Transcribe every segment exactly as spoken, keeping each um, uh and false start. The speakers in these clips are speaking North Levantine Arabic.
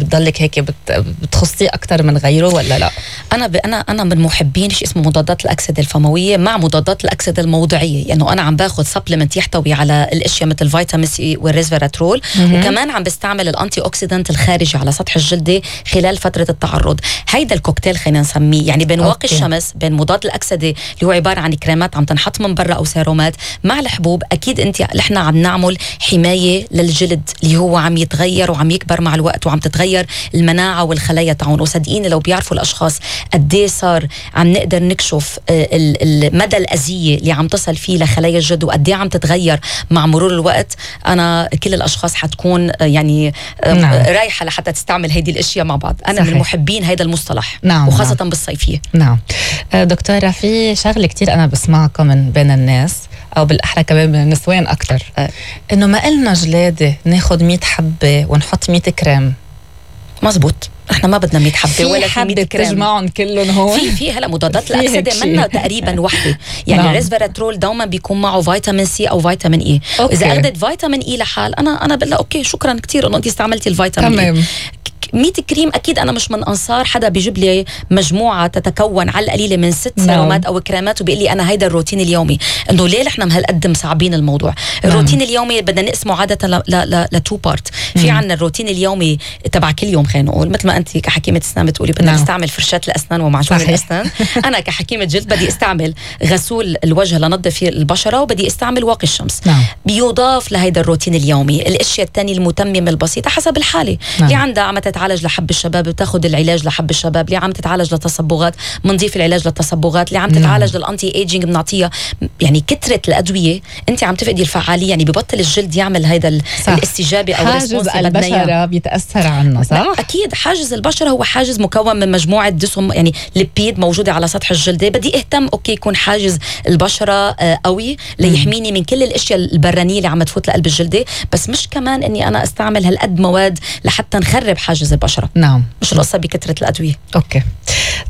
بتضلك هيك بت بتخصيه اكثر من غيره ولا لا؟ انا ب... انا انا من محبين شيء اسمه مضادات الاكسده الفمويه مع مضادات الاكسده الموضعيه، لانه يعني انا عم باخذ سبلمنت يحتوي على الاشياء مثل فيتامين سي والريسفيراترول، وكمان عم بستعمل الانتي اوكسيدانت الخارجي على سطح الجلده خلال فتره التعرض. هيدا الكوكتيل خلينا نسميه، يعني بين واقي الشمس، بين مضاد الاكسده اللي هو عباره عن كريمات عم تنحط من برا او سيرومات، مع الحبوب. اكيد انت نحن عم نعمل حمايه للجلد اللي هو عم يتغير وعم يكبر مع الوقت، وعم تتغير المناعه والخلايا تاعون. وصدقيني لو بيعرفوا الاشخاص قد ايه صار عم نقدر نكشف مدى الاذيه اللي عم تصل فيه لخلايا الجلد وقد ايه عم تتغير مع مرور الوقت، انا كل الاشخاص حتكون يعني نعم. رايحه لحتى تستعمل هيدي الاشياء مع بعض. انا صحيح. من محبين هيدا المصطلح، نعم. وخاصه نعم. بالصيفيه. نعم دكتوره، في شغله كتير انا بسمعها من بين الناس، او بالاحرى كمان من النسوان اكثر، أه. انه ما قلنا جلاده ناخذ مية حبه ونحط مية كريم. مزبوط، احنا ما بدنا مية حبه ولا حبه تجمعهم كلهم هون. في في هلا مضادات الاكسده منا تقريبا وحده، يعني نعم. الريسفيراترول دوما بيكون معه فيتامين سي او فيتامين اي. اذا اخذت فيتامين اي لحال انا انا بقول اوكي شكرا كثير انه انت استعملتي الفيتامين اي. مية كريم اكيد انا مش من انصار حدا بيجيب لي مجموعه تتكون على القليله من ست سيرومات او كريمات وبيقول لي انا هيدا الروتين اليومي. انه ليه احنا مهالقد مصعبين الموضوع؟ الروتين اليومي بدنا نقسمه عاده ل ل لتو بارت. في عندنا الروتين اليومي تبع كل يوم، خلينا نقول مثل ما انت كحكيمه اسنان بتقولي بدنا نستعمل فرشاه الاسنان ومعجون الاسنان. انا كحكيمه جلد بدي استعمل غسول الوجه لنظف فيه البشره، وبدي استعمل واقي الشمس. نعم. بيضاف لهيدا الروتين اليومي الاشياء الثانيه المتممه البسيطه حسب الحاله. نعم. اللي عندها عم تتعالج لحب الشباب بتاخذ العلاج لحب الشباب، اللي عم تتعالج لتصبغات بنضيف العلاج للتصبغات، اللي عم تتعالج نعم. للانتي ايجينج بنعطيها. يعني كثره الادويه انت عم تفقدي الفعاليه، يعني ببطل الجلد يعمل هيدا الاستجابه او حاجز البشره بيتاثر عنه. صح، اكيد حاجز البشره هو حاجز مكون من مجموعه دسم، يعني ليبيد موجوده على سطح الجلده. بدي اهتم اوكي يكون حاجز البشره قوي ليحميني من كل الاشياء البرانيه اللي عم تفوت لقلب الجلده، بس مش كمان اني انا استعمل هالقد مواد لحتى نخرب حاجز البشره. نعم، مش القصه بكثره الادويه. اوكي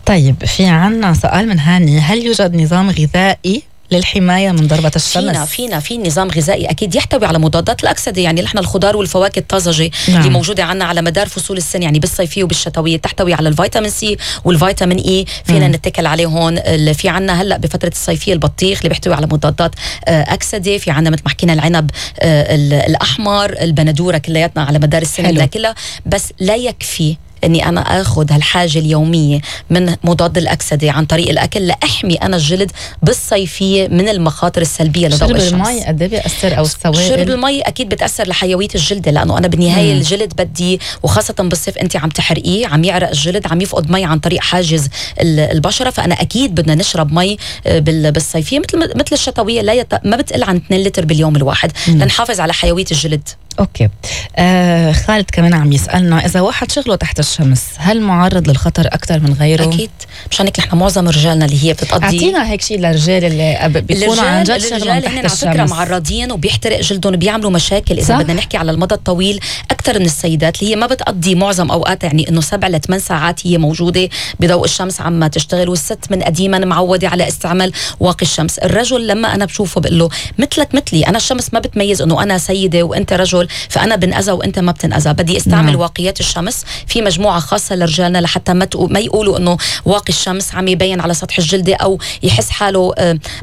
طيب، في عنا سؤال من هاني: هل يوجد نظام غذائي للحماية من ضربة الشمس؟ فينا فينا في نظام غذائي أكيد يحتوي على مضادات الأكسدة. يعني نحن الخضار والفواكه الطازجة نعم. اللي موجودة عنا على مدار فصول السنة، يعني بالصيفية وبالشتوية، تحتوي على الفيتامين سي والفيتامين إي، فينا م. نتكل عليه هون. في عنا هلأ بفترة الصيفية البطيخ اللي بيحتوي على مضادات أكسدة. في عنا مثل ما حكينا العنب الأحمر، البندورة، كلياتنا على مدار السنة بناكلها، بس لا يكفي اني انا اخذ هالحاجه اليوميه من مضاد الاكسده عن طريق الاكل لاحمي انا الجلد بالصيفيه من المخاطر السلبيه لضوء الشمس. شرب المي قد ايه بيأثر او السوائل؟ شرب المي اكيد بتاثر لحيويه الجلد، لانه انا بالنهايه مم. الجلد بدي، وخاصه بالصيف انت عم تحرقيه، عم يعرق الجلد، عم يفقد مي عن طريق حاجز البشره. فانا اكيد بدنا نشرب مي بالصيفيه مثل مثل الشتويه، لا يت... ما بتقل عن اثنين لتر باليوم الواحد مم. لنحافظ على حيويه الجلد. اوكي. آه خالد كمان عم يسالنا: اذا واحد شغله تحت الشمس هل معرض للخطر اكثر من غيره؟ اكيد، مشان هيك نحن معظم رجالنا اللي هي بتقضي، اعطينا هيك شيء للرجال اللي بيكونوا عن جد شغلهم تحت الشمس. على فكره معرضين وبيحترق جلدهم وبيعملوا مشاكل. اذا بدنا نحكي على المدى الطويل، اكثر من السيدات اللي هي ما بتقضي معظم اوقات، يعني انه سبع لثمان ساعات هي موجوده بضوء الشمس عم تشتغل، والست من قديما معوده على استعمال واقي الشمس. الرجل لما انا بشوفه بقول له مثلك مثلي، انا الشمس ما بتميز انه انا سيده وانت رجل، فانا بنأذى وانت ما بتنأذى. بدي استعمل نعم. واقيات الشمس في مجموعه خاصه لرجالنا لحتى ما ما يقولوا انه واقي الشمس عم يبين على سطح الجلد او يحس حاله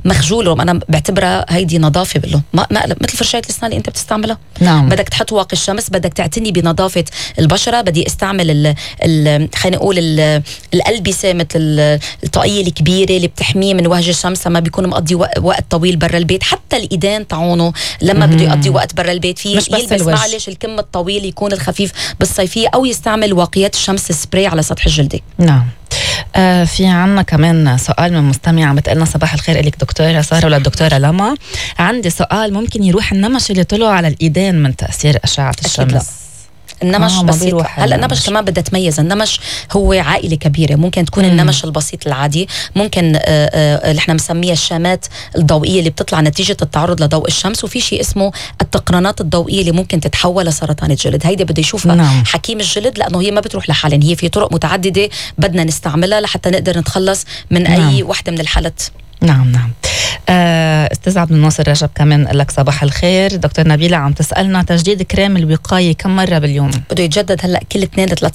مخجول. انا بعتبرها هيدي نظافه بقول له ما مثل فرشايه الاسنان اللي انت بتستعملها. نعم. بدك تحط واقي الشمس، بدك تعتني بنظافه البشره. بدي استعمل ال ال خلينا نقول ال الالبسه مثل الطاقيه الكبيره اللي بتحميه من وهج الشمس لما بيكون مقضي وقت طويل برا البيت. حتى الايدين تاعونه لما بده يقضي وقت برا البيت في يلبس معلش الكم الطويل يكون الخفيف بالصيفيه، او يستعمل واقيات الشمس سبراي على سطح الجلد. نعم. آه في عنا كمان سؤال من مستمعة بتقلنا: صباح الخير إليك دكتورة سارة وللدكتورة لما، عندي سؤال، ممكن يروح النمش اللي طلعوا على الإيدين من تأثير أشعة الشمس؟ النمش آه بسيط. هلا النمش كمان بدها تميز. النمش هو عائله كبيره، ممكن تكون مم. النمش البسيط العادي، ممكن آه آه اللي احنا بنسميها الشامات الضوئيه اللي بتطلع نتيجه التعرض لضوء الشمس، وفي شيء اسمه التقرنات الضوئيه اللي ممكن تتحول لسرطان الجلد. هيدا بده يشوفها نعم. حكيم الجلد، لانه هي ما بتروح لحالها، هي في طرق متعدده بدنا نستعملها لحتى نقدر نتخلص من نعم. اي وحده من الحالات. نعم نعم. آه استاذ عبد الناصر رجب كمان لك صباح الخير. دكتور نبيلة عم تسألنا: تجديد كريم الوقاية كم مرة باليوم؟ بده يتجدد هلا كل اثنين لثلاث